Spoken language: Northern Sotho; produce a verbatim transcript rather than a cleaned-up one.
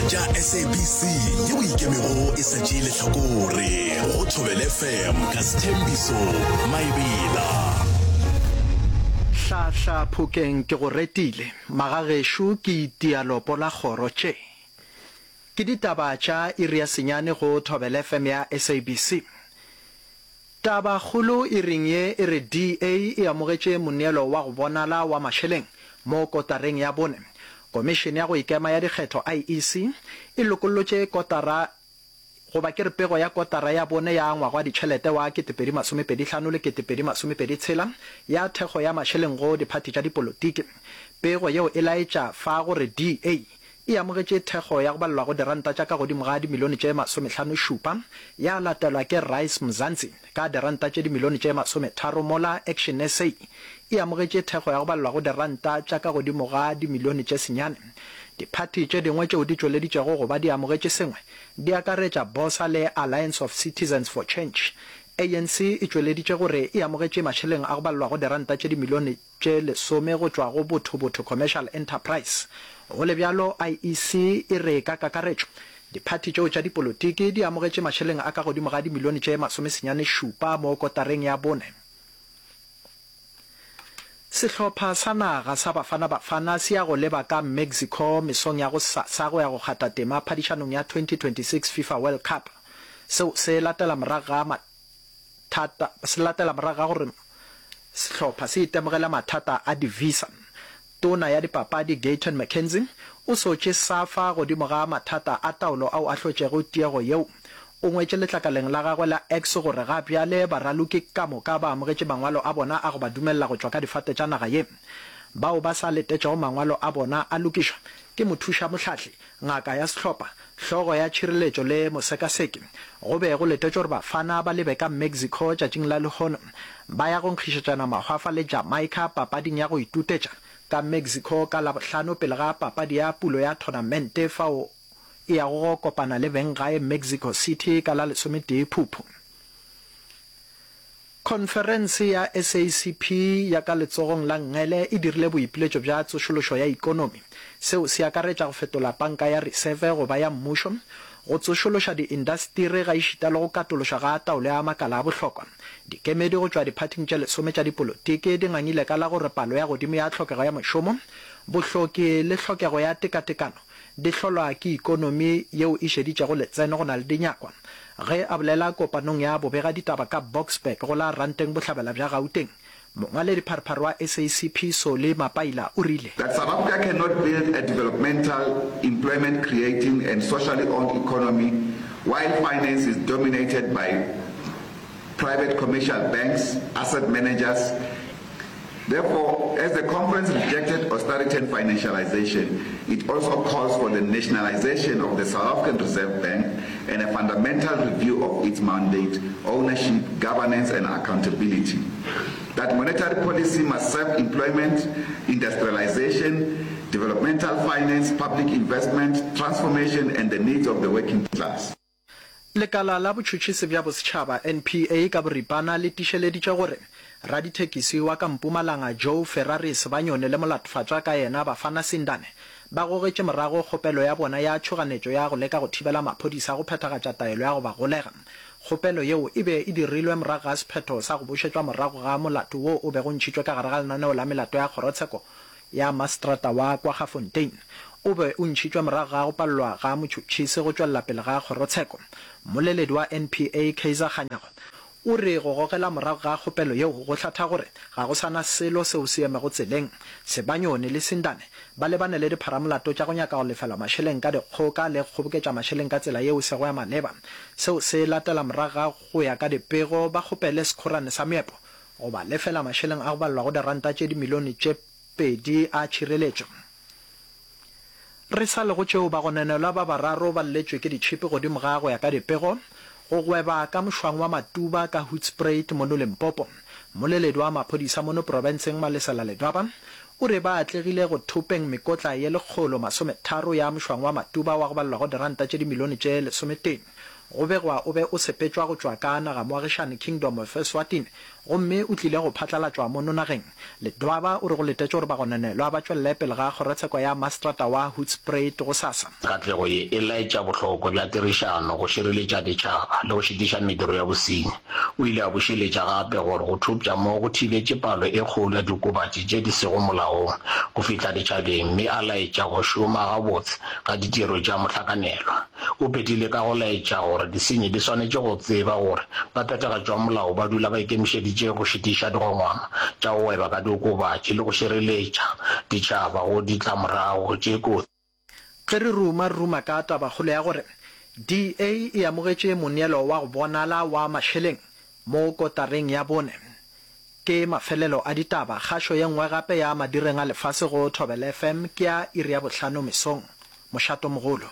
tša S A B C yeo ikemego e sa tšee lehlakore go Thobela F M ka Sthembiso Maebela. Hlahla Phokeng ke go retile, magagešo ke itia lopo la kgoro tše. Ke ditaba tša iri ya senyane go Thobela F M ya S A B C. Tabakgolo iring ye e re D A e amogetše moneelo wa go bonala wa mašeleng mo kotareng ya bone. Komišene ya go Ikema ya Dikgetho, I E C, e lokollotše kotara goba ke re pego ya kotara ya bone ya ngwaga wa ditšhelete wa ketepedi masomepedi hlano le ketepedi masomepedi tshela ya thekgo ya mašeleng go diphathi tša dipolotiki. Pego yeo e laetša fa gore D A e amogetše thekgo ya go balelwa go diranta tša ka godimo ga dimilione tše masomehlano šupa, ya latelwa ke Rise Mzansi ka diranta tše dimilione tše masometharo, mola Action S A e amogetše thekgo ya go balelwa go diranta tša ka godimo ga dimilione tše senyane. Diphathi tše dingwe tšeo di tšweleditšego go ba di amogetše sengwe di akaretša BOSA le Alliance of Citizens for Change. A N C e tšweleditše gore e amogetše mašeleng a go balelwa go diranta tše dimilione tše lesome go tšwa go Botho Botho Commercial Enterprise. Go le bjalo, I E C e re ka kakaretšo diphathi tšeo tša dipolotiki di amogetše mašeleng a ka godimo ga dimilione tše masomesenyane šupa mo kotareng ya bone. Sehlopha sa naga sa Bafana Bafana se ya go leba ka Mexico mesong ya gosasa go ya go kgatha tema phadišanong ya twenty twenty-six FIFA World Cup. Seo se latela morago ga mathata se latela morago ga gore sehlopha se itemogele mathata a di-visa. Tona ya dipapadi Gayton McKenzie o sotše SAFA godimo ga mathata a taolo ao a hlotšego tiego yeo. O ngwetše letlakaleng la gagwe la X gore ga bjale baraloki ka moka ba amogetše mangwalo a bona a go ba dumelela go tšwa ka difate tša naga ye. Bao ba sa letetšego mangwalo a bona a lokišwa ke mothušamohlahli, ngaka ya sehlopha, hlogo ya tšhireletšo le mosekaseki. Go be go letetšwe gore Bafana ba lebe ka Mexico tšatšing la lehono ba ya go nkgišetšana mahwafa le Jamaica papading ya go itutetša ka Mexico ka Labohlano pele ga papadi ya pulo ya thonamente fao e yago go kopana le benggae Mexico City ka la lesometee Phuphu. Khonferense ya S A C P ya ka letsogong la nngele e dirile boipiletšo bja tsošološo ya ikonomi. Seo se akaretša go fetola panka ya reseve go ba ya mmušo, go tsošološa diindasteri gaešita le go katološwa ga taolo ya makala a bohlokwa. Dikemedi go tšwa diphathing tše lesome tša dipolotiki di ngangile ka la gore palo ya godimo ya tlhokego ya mošomo, bohloki le tlhokego ya tekatekano di hlolwa ke ikonomi yeo e šeditšego letseno go na le dinyakwa. Ge a bolela kopanong ya bobegaditaba ka Boksburg go la Ranteng Bohlabela bja Gauteng, mongwaledipharephare wa S A C P Solly Mapaila o rile. That South Africa cannot build a developmental, employment-creating and socially owned economy while finance is dominated by private commercial banks, asset managers. Therefore, as the conference rejected austerity and financialization, it also calls for the nationalization of the South African Reserve Bank and a fundamental review of its mandate, ownership, governance and accountability. That monetary policy must serve employment, industrialization, developmental finance, public investment, transformation and the needs of the working class. Lekala la Botšhotšhisi bja Bosetšhaba, N P A, ka boripana le tiišeleditše gore radithekisi wa ka Mpumalanga Joe Ferrari Sebanyoni le molatofatšwa ka yena Bafana Sindane ba gogetše morago kgopelo ya bona ya tšhoganetšo ya go leka go thibela maphodisa go phethagatša taelo ya go ba golega. Kgopelo yeo e be e dirilwe morago ga sephetho sa go bušetšwa morago ga molato wo o bego ntšhitšwe ka gare ga lenaneo la melato ya kgorotsheko ya maseterata wa Kwaggafontein. O be o ntšhitšwe morago ga go palelwa ga motšhotšhisi go tšwelela pele ga kgorotsheko. Mmoleledi wa N P A Kaizer Kganyago o re go gogela morago ga kgopelo yeo go hlatha gore ga go sa na selo seo se emego tseleng. Sebanyoni le Sindane ba lebane le dipharamolato tša go nyaka go lefelwa mašeleng ka dikgoka le go kgoboketša mašeleng ka tsela yeo e sego ya maleba. Seo se latela morago ga go ya ka dipego ba kgopele sekhorane sa meepo go ba lefela mašeleng a go balelwa go diranta tše dimilione tše pedi a tšhireletšo. Re sa le go tšeo, bagononelwa ba bararo ba lletšwe ke ditšhipi godimo ga go ya ka dipego go gweba ka mošwang wa Matuba ka Hoedspruit mono Limpopo. Mmoleledi wa maphodisa mono profenseng Malesela Ledwaba o re ba atlegile go thopeng mekotla ye lekgolo masometharo ya mošwang wa Matuba wa go balelwa go diranta tše dimilione tše lesometee. Go begwa o be o sepetšwa go tšwa ka nagamoagišane Kingdom of Eswatini gomme o tlile go phatlalatšwa mono nageng. Ledwaba o re go letetšwe gore bagononelwa ba tšwelele pele ga kgorotsheko ya mastrata wa Hoedspruit gosasa. Katlego ye e laetša bohlokwa bja tirišano go šireletša ditšhaba le go šitiša mediro ya bosenyi. O ile a bušeletša gape gore go thopša mo go thibetše palo e kgolo ya diokobatši tše di sego molaong go fihla ditšhabeng mme a laetša go šoma gabotse ga ditiro tša mohlakanelwa. O phethile ka go laetša gore disenyi di swanetše go tseba gore baphethagatši ba molao ba dula ba ikemišeditše go šitiša digongwana tša go gweba ka diokobatši le go šireletša ditšhaba go ditlamorago tše kotsi. Ge re ruma, re ruma ka tabakgolo ya gore D A e amogetše moneelo wa go bonala wa mašeleng mo kotareng ya bone. Ke mafelelo a ditaba. Kgašo ye nngwe gape ya madireng a lefase go Thobela F M ke ya iri ya bohlano mesong. Mošatomogolo.